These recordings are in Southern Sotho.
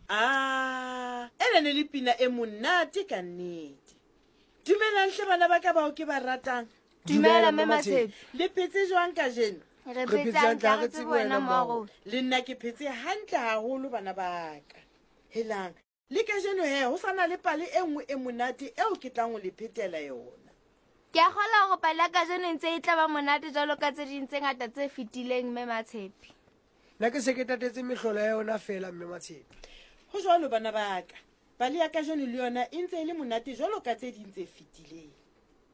A ena ne le pina e monate ka nnete. Dumelang hle bana ba ka bao ke ba ratang. Dumela Mme Matshepe. Le phetse jwang kajeno? Re phetse hantle ha re tsebe wena mmago. Le nna ke phetse hantle haholo bana ba ka. Helang, le kajeno he ho sa na le pale e nngwe e monate eo ke tlang ho le phetela yona. Ke a kgolwa hore pale ya kajeno e ntse e tla ba monate jwalo ka tse ding tse ngata tse fetileng Mme Matshepe. Nna ke se ke tatetse mehlolo ya yona fela Mme Matshepe. Ho jwalo bana ba ka. Pale ya kajeno le yona e ntse e le monate jwalo ka tse ding tse fetileng.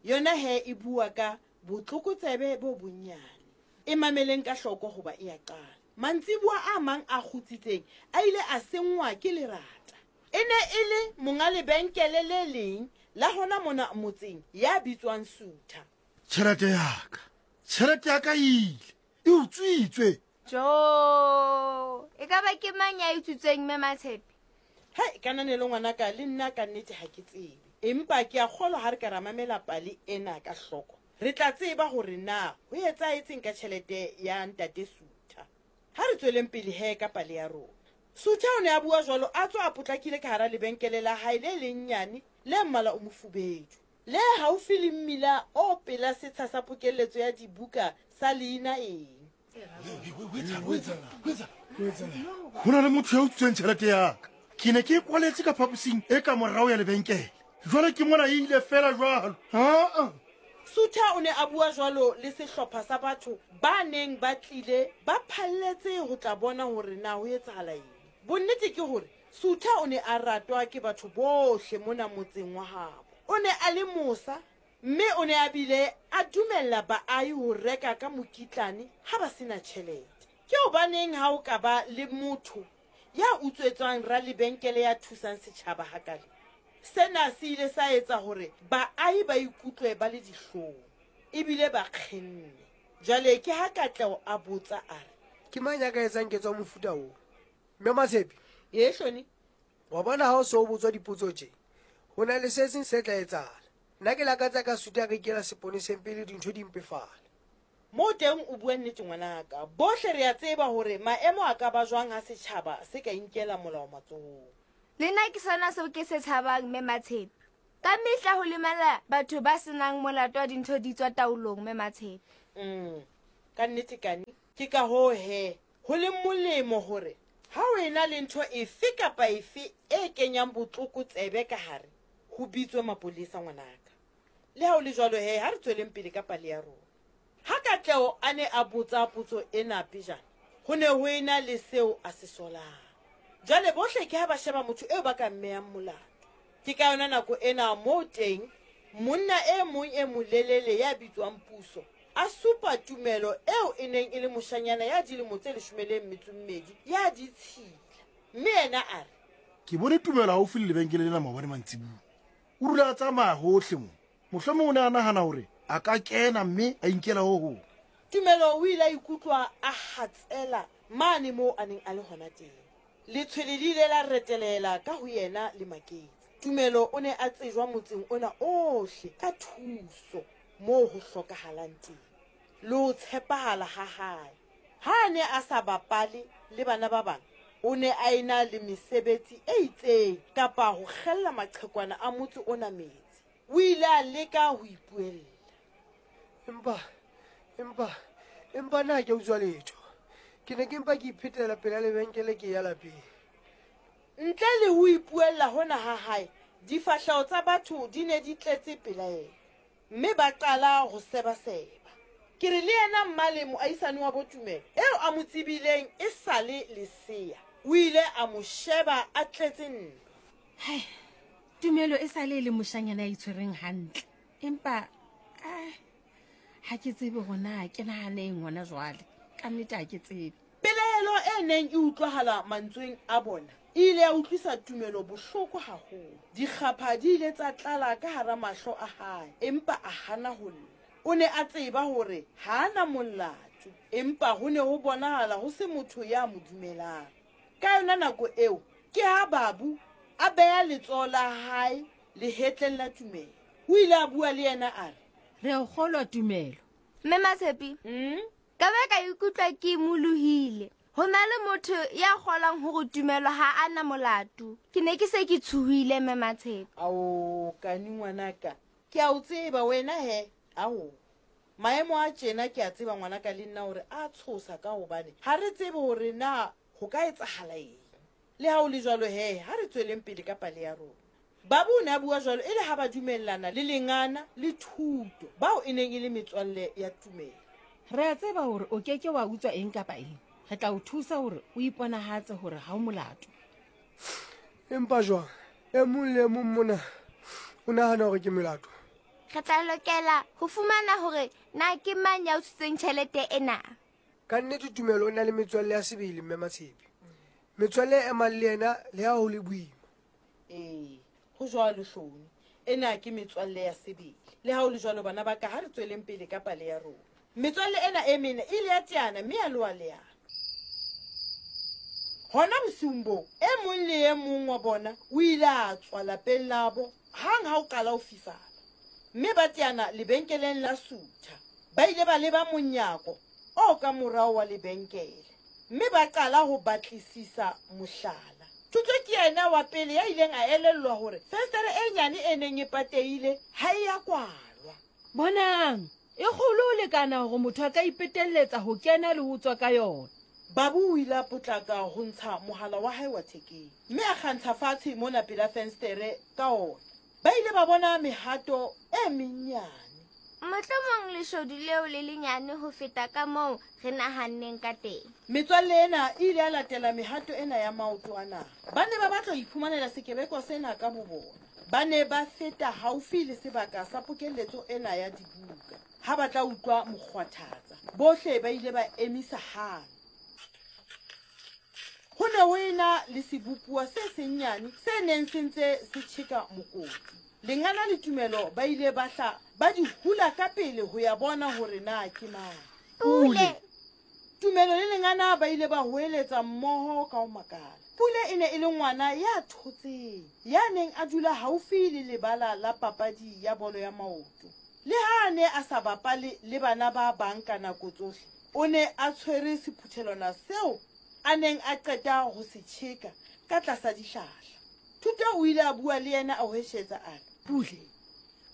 Yona he e bua ka botlokotsebe bo bonnyane. E mameleng ka hloko hoba e a qala. Mantsiboa a mang a kgutsitseng a ile a senngwa ke lerata. E ne e le monga lebenkele le leng la hona mona motseng ya bitswang Sutha. Tjhelete ya ka! Tjhelete ya ka e ile! E utswitswe! Jo! E ka ba ke mang ya e utswitseng, Mme Matshepe? Hai, Kananelo ngwanaka, le nna ka nnete ha ke tsebe. Empa ke a kgolwa ha re ka ra mamela pale ena ka hloko, re tla tseba hore na ho etsahetseng ka tjhelete ya Ntate Sutha. Ha re tsweleng pele he ka pale ya rona. Sutha o ne a bua jwalo a tswa a potlakile ka hara lebenkele la hae le lennyane le mmala o mofubedu, le haufi le mmila o pela setsha sa pokelletso ya dibuka sa leina eng. Go na le motho ya utswitseng tšhelete yaka. Ke ne ke e kwaletse ka phaposing e ka morago ya lebenkele. Jwale ke mona e ile fela jwalo. Aa! Sutha o ne a bua jwalo le sehlopha sa batho ba neng ba tlile ba phalletse ho tla bona hore na ho etsahala eng. Bonnete ke hore Sutha o ne a ratwa ke batho bohle mona motseng wa habo. O ne a le mosa mme o ne a bile a dumella baahi ho reka ka mokitlane ha ba se na tjhelete. Ke hobaneng ha ho ka ba le motho ya utswetswang ralebenkele ya thusang setjhaba hakale? Sena se ile sa etsa hore baahi ba ikutlwe ba le dihlong ebile ba kgenne. Jwale ke ha Katleho a botsa a re. Ke mang ya ka etsang ketso ya mofuta oo? Mme Matshepe? Ee, Hloni. Wa bona ha o se o botswa dipotso tje, ho na le se seng se tla etsahala. Nna ke lakatsa ka suta ka ikela seponeseng pele dintho di mpefala. Moo teng o bua nnete ngwanaka. Bohle re a tseba hore maemo a ka ba jwang ha setjhaba se ka inkela molao matsohong. Le nna ke sona seo ke se tshabang Mme Matshepe. Ka mehla ho lemala batho ba se nang molato ha dintho di tswa taolong Mme Matshepe. Umm, ka nnete Kani. Ke ka hoo he ho leng molemo hore ha ho ena le ntho efe kapa efe e kenyang botlokotsebe ka hare, ho bitswe mapolesa ngwanaka. Le ha ho le jwalo he, ha re tsweleng pele ka pale ya rona. Ha Katleho a ne a botsa potso ena pejana, ho ne ho ena le seo a se solang. Jwale bohle ke ha ba sheba motho eo ba ka mmeyang molato. Ke ka yona nako ena moo teng monna e mong e molelele ya bitswang Puso a supa Tumelo eo e neng e le moshanyana ya dilemo tse leshome le metso mmedi ya ditshila, mme yena a re. Ke bone Tumelo haufi le lebenkele lena maobane mantsibuya. O dula a tsamaya hohle mo. Mohlomong o ne a nahana hore a ka kena mme a inkela ho hong. Tumelo o ile a ikutlwa a hatsela mane moo a neng a le hona teng. Letshwele le ile la retelehela ka ho yena le maketse. Tumelo o ne a tsejwa motseng ona ohle ka thuso moo ho hlokahalang teng le ho tshepahala ha hae. Ha a ne a sa bapale le bana ba bang, o ne a ena le mesebetsi e itseng kapa ho kgella maqhekwana a motse ona metsi. O ile a leka ho ipuella. Empa, empa, empa nna ha ke a utswa letho. Ke ne ke mpa ke iphetela pela lebenkele ke ya lapeng. Ntle le ho ipuella hona ha hae, difahleho tsa batho di ne di tletse pelaelo, mme ba qala ho sebaseba. Ke re le yena Mmale, moahisani wa bo Tumelo, eo a mo tsebileng e sa le lesea, o ile a mo sheba a tletse ntwa. Hai, Tumelo e sa le e le moshanyana ya itshwereng hantle, empa ah, ha ke tsebe hore na ke nahane eng hona jwale. Ka nnete ha ke tsebe. Pelaelo e neng e utlwahala mantsweng a bona e ile ya utlwisa Tumelo bohloko haholo. Dikgapha di ile tsa tlala ka hara mahlo a hae, empa a hana ho lla. O ne a tseba hore ha a na molato, empa ho ne ho bonahala ho se motho ya mo dumelang. Ka yona nako eo, ke ha Babu a beha letsoho la hae lehetleng la Tumelo. O ile a bua le yena a re. Re a o kgolwa, Tumelo. Mme Matshepi, Mm? ka ba ka ikutlwa ke imolohile. Ho na le motho ya kgolwang hore Tumelo ha a na molato. Ke ne ke se ke tshohile, Mme Matshepe. Ao, Kani ngwanaka, ke a o tseba wena he. Ao, maemo a tjena ke a tseba ngwanaka le nna hore a tshosa ka hobane ha re tsebe hore na ho ka etsahala eng. Le ha ho le jwalo he, ha re tsweleng pele ka pale ya rona. Babu o ne a bua jwalo e le ha ba dumellana le Lengana le Thuto, bao e neng e le metswalle ya Tumelo. Re a tseba hore o ke ke wa utswa eng kapa eng. Re tla o thusa hore o iponahatse hore ha o molato. Empa jwang? E mong le e mong mona o nahana hore ke molato. Re tla lokela ho fumana hore na ke mang ya utswitseng tjhelete ena. Ka nnete Tumelo o na le metswalle ya sebele, Mme Matshepe. Metswalle e emang le yena le ha ho le boima. Ee, ho jwalo Hloni. Ena ke metswalle ya sebele. Le ha ho le jwalo, bana ba ka, ha re tsweleng pele ka pale ya rona. Metswalle ena e mene e ile ya teana mme ya loha leano. Hona bosiung boo, e mong le e mong wa bona o ile a tswa lapeng labo hang ha ho qala ho fifala, mme ba teana lebenkeleng la Sutha. Ba ile ba leba monyako o ka morao wa lebenkele mme ba qala ho batlisisa mohlala. Thuto ke yena wa pele ya ileng a elellwa hore fenstere e nyane e neng e patehile ha e ya kwalwa. Bonang! E kgolo ho lekana hore motho a ka ipetelletsa ho kena le ho tswa ka yona. Babu o ile a potlaka ho ntsha mohala wa hae wa thekeng mme a kgantsha fatshe mona pela fenstere ka ona. Ba ile ba bona mehato e mennyane. Mohlomong leshodu leo le lenyane ho feta ka moo re nahanneng ka teng. Metswalle ena e ile ya latela mehato ena ya maoto ana. Ba ne ba batla ho iphumanela sekebekwa sena ka bobona. Ba ne ba feta haufi le sebaka sa pokelletso ena ya dibuka ha ba tla utlwa mokgwathatsa. Bohle ba ile ba emisa hang. Ho ne ho ena le sebopuwa se sennyane se neng se ntse se tjheka mokoti. Lengana le Tumelo ba ile ba hla ba di hula ka pele ho ya bona hore na ke mang. Pule! Tumelo le Lengana ba ile ba hoeletsa mmoho ka ho makala. Pule e ne e le ngwana ya thotseng, ya neng a dula haufi le lebala la papadi ya bolo ya maoto. Le ha a ne a sa bapale le bana ba bang ka nako tsohle, o ne a tshwere sephuthelwana seo a neng a qeta ho se tjheka ka tlasa dihlahla. Thuto o ile a bua le yena a hweshetsa a re. Pule,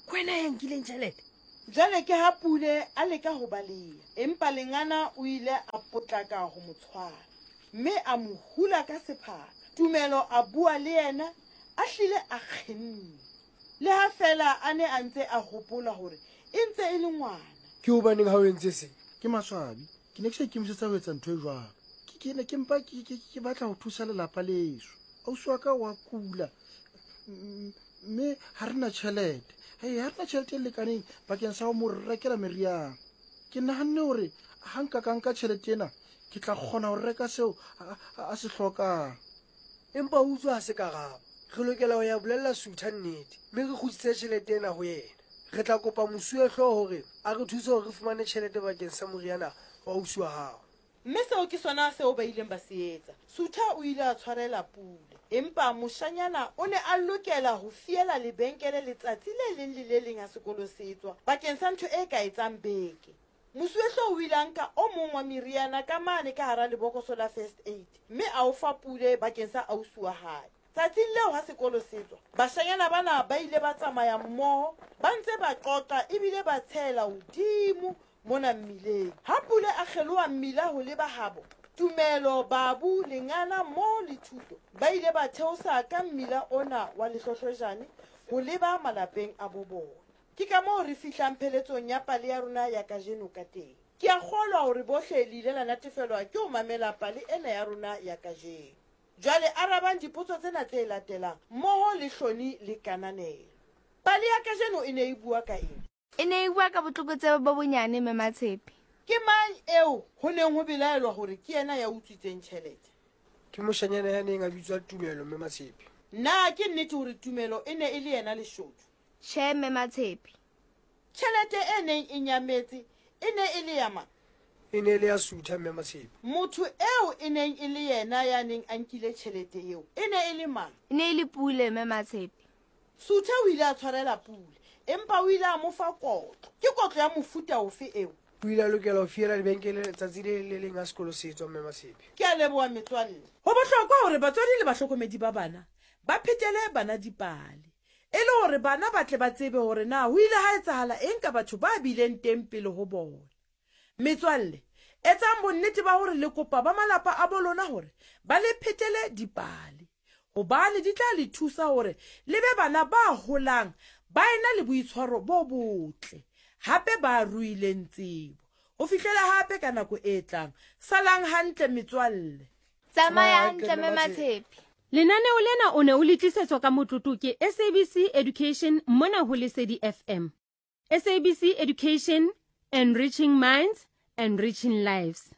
ke wena ya nkileng tjhelete? Jwale ke ha Pule a leka ho baleha, empa Lengana o ile a potlaka ho mo tshwara mme a mo hula ka sephaka. Tumelo a bua le yena a hlile a kgenne, le ha feela a ne a ntse a hopola hore e ntse e le ngwana. Ke hobaneng ha o entse se? Ke maswabi. Ke ne ke sa ikemisetsa ho etsa ntho e jwalo. Ke, ke ne ke mpa ke, ke, ke batla ho thusa lelapa leso. Ausi wa ka wa kula, mme ha re na tjhelete. Hei, ha re na tjhelete e lekaneng bakeng sa ho mo rekela meriana. Ke nahanne hore ha nka ka nka tjhelete ena, ke tla kgona ho reka seo a, a, a se hlokang. Empa ho utswa ha se karabo. Re lokela ho ya bolella Sutha nnete mme re kgutlisetse tjhelete ena ho yena. Re tla kopa mosuwehlooho hore a re thuse hore re fumane tjhelete bakeng sa moriana wa ausi wa hao. Mme seo ke sona seo ba ileng ba se etsa. Sutha o ile a tshwarela Pule. Empa moshanyana o ne a lokela ho fiela lebenkele letsatsi le leng le le leng ha sekolo se tswa bakeng sa ntho e ka etsang beke. Mosuwehlooho o ile a nka o mong wa meriana ka mane ka hara lebokoso la first aid mme a o fa Pule bakeng sa ausi wa hae. Tsatsing leo ha sekolo se tswa, bashanyana bana ba ile ba tsamaya mmoho ba ntse ba qoqa ebile ba tshehela hodimo mona mmileng. Ha Pule a kgeloha mmila ho leba habo, Tumelo, Babu, Lengana mmoho le Thuto ba ile ba theosa ka mmila ona wa lehlohlojane ho leba malapeng a bo bona. Ke ka moo re fihlang pheletsong ya pale ya rona ya kajeno ka teng. Ke a kgolwa hore bohle le ile la natefelwa ke ho mamela pale ena ya rona ya kajeno. Jwale arabang dipotso tsena tse latelang mmoho le Hloni le Kananelo. Pale ya kajeno e ne e bua ka eng? E ne e bua ka botlokotsebe bo bonyane, Mme Matshepe. Ke mang eo ho neng ho belaelwa hore ke yena ya utswitseng tjhelete? Ke moshanyana ya neng a bitswa Tumelo, Mme Matshepe. Na ke nnete hore Tumelo e ne e le yena leshodu? Tjhe, Mme Matshepe. Tjhelete e neng e nyametse e ne e le ya mang? E ne e le ya Sutha, Mme Matshepe. Motho eo e neng e le yena ya neng a nkile tjhelete eo e ne e le mang? E ne e le Pule, Mme Matshepe. Sutha o ile a tshwarela Pule, empa o ile a mo fa kotlo. Ke kotlo ya mofuta ofe eo? O ile a lokela ho fiela lebenkele letsatsi le leng le leng ha sekolo se etswa, Mme Matshepe. Ke a leboha metswalle. Ho bohlokwa hore batswadi le bahlokomedi ba bana ba phetele bana dipale e le hore bana ba tle ba tsebe hore na ho ile ha etsahala eng ka batho ba bileng teng pele ho bona. Metswalle, etsang bonnete ba hore le kopa ba malapa a bo lona hore ba le phetele dipale, hobane di tla le thusa hore le be bana ba holang ba ena le boitshwaro bo botle hape ba ruileng tsebo. Ho fihlela hape ka nako e tlang, salang hantle metswalle. Tsamaya hantle Mme Matshepe. Lenaneo lena o ne o le tlisetswa ka motlotlo ke SABC Education mona ho Lesedi FM. SABC Education, enriching minds, enriching lives.